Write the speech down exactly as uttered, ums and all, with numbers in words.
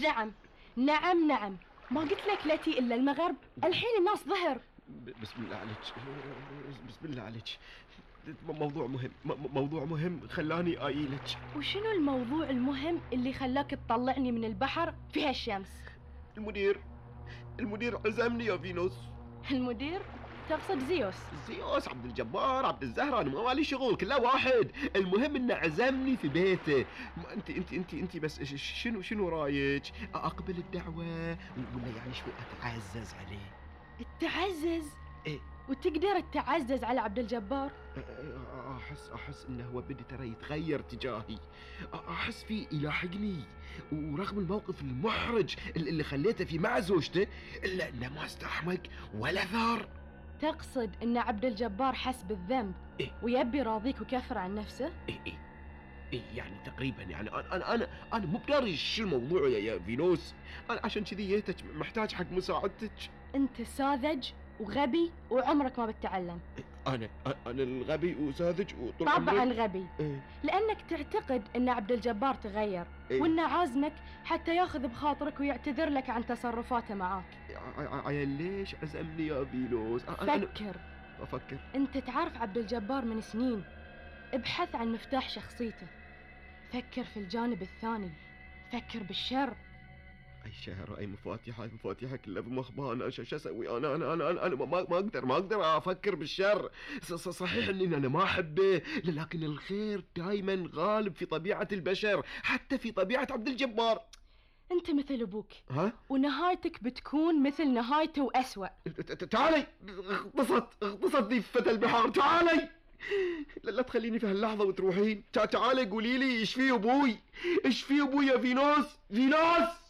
نعم نعم نعم، ما قلت لك لا تي إلا المغرب؟ الحين الناس ظهر. بسم الله عليك، بسم الله عليك، موضوع مهم، موضوع مهم خلاني آيلك. وشنو الموضوع المهم اللي خلاك تطلعني من البحر في هالشمس؟ المدير المدير عزمني يا فينوس. المدير؟ تقصد زيوس؟ زيوس، عبد الجبار، عبد الزهرة، انا ما مالي شغل، كله واحد. المهم انه عزمني في بيته. انت انت انت انت بس شنو شنو رايك؟ اقبل الدعوة ولا يعني شوي اتعزز عليه؟ التعزز؟ ايه، وتقدر تتعزز على عبد الجبار؟ احس احس انه هو بدي ترى يتغير تجاهي، احس فيه يلاحقني، ورغم الموقف المحرج اللي خليته فيه مع زوجته الا انه ما استحمق ولا ثار. تقصد ان عبد الجبار حس بالذنب إيه؟ ويبي راضيك وكفر عن نفسه؟ إيه إيه إيه يعني تقريبا، يعني انا انا انا انا مو بداري شو الموضوع يا يا فينوس، انا عشان كذي جيتك محتاج حق مساعدتك. انت ساذج وغبي وعمرك ما بتتعلم. انا انا الغبي وساذج وطول طبعا عمرك؟ غبي. إيه؟ لانك تعتقد ان عبد الجبار تغير، إيه؟ وانه عازمك حتى ياخذ بخاطرك ويعتذر لك عن تصرفاته معاك. عيل ليش عزمني يا فينوس؟ فكر. افكر. انت تعرف عبد الجبار من سنين، ابحث عن مفتاح شخصيته، فكر في الجانب الثاني، فكر بالشر. اي شهر، اي مفاتيح، اي مفاتيح كلها بمخبأ. انا شو اسوي؟ انا انا انا انا, أنا ما, ما اقدر ما اقدر افكر بالشر. صحيح اني انا ما احبه، لكن الخير دائما غالب في طبيعة البشر، حتى في طبيعة عبد الجبار. انت مثل ابوك، ها؟ ونهايتك بتكون مثل نهايته واسوأ. تعالي، اغتصت اغتصت ذي فتى البحار، تعالي. لا, لا تخليني في هاللحظة وتروحين. تعالي قولي لي ايش فيه ابوي؟ ايش فيه ابوي يا فينوس؟ فينوس